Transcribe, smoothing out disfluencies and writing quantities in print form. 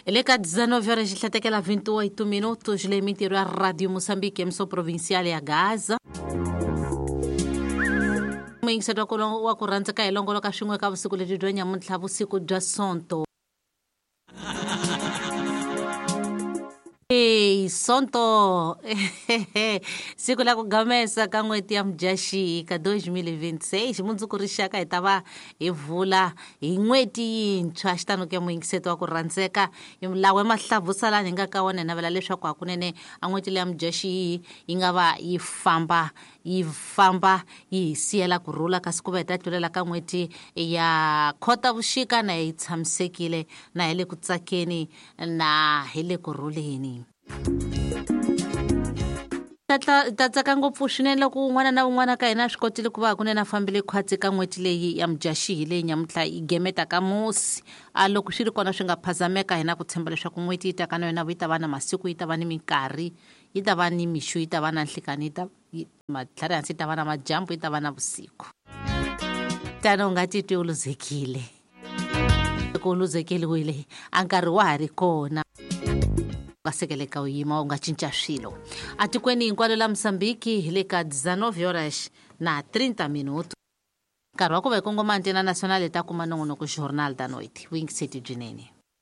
Hi le ka 19 horas xihlatekela 28 minutos leyi mintirho ya Radio Moçambique emissão provincial ya Gaza. Muyingiseri wa ku wa ku rhandzeka hi longoloka swin'we ka vusiku lebyi bya nyamuntlha vusiku bya Sonto. Hey, Sonto siku la ku gamesa ka n'hweti ya Mudyaxihi ka 2026 mundzuku rixaka hi ta va hi vula hi n'hweti yintshwa xitano ke muyingiseti wa ku rhandzeka lawa mahlavusa lani hi nga ka wona hi navela leswaku hakunene a n'hweti leya Mudyaxihi yi nga va yi famba yi famba yi hi siyela ku rhula kasi ku va hi ta tlulela ka n'hweti ya Khotavuxika na yi tshamisekile na hi le ku tsakeni na hi le ku rhuleni. Ta ta tsaka ngopfu swinene loko un'wana na un'wana ka hina a swi kotile ku va hakunene a fambile khwatsi ka n'hweti leyi ya Mudyaxihi leyi nyamuntlha yi gemeta ka musi. A loko swi ri kona swi nga phazameka hi na ku tshemba leswaku n'hweti yi taka na yona yi ta va na masiku yi ta va ni minkarhi yi ta va ni mixo yi ta va na nhlikani yi ta matlhari hansi yi ta va na madyambu yi ta va na vusiku. Tano u nga titwi u luzekile. Loko u luzekeriwile a nkarhi wa ha ri kona u nga sekeleka u yima u nga cinca swilo atikweni hinkwalo la Mozambique hi le ka 19 horas na 30 minuto nkarhi wa ku va hi kongoma antena nacional hi ta kuma nongonoko Jornal da Noite vuyingiseti byinene.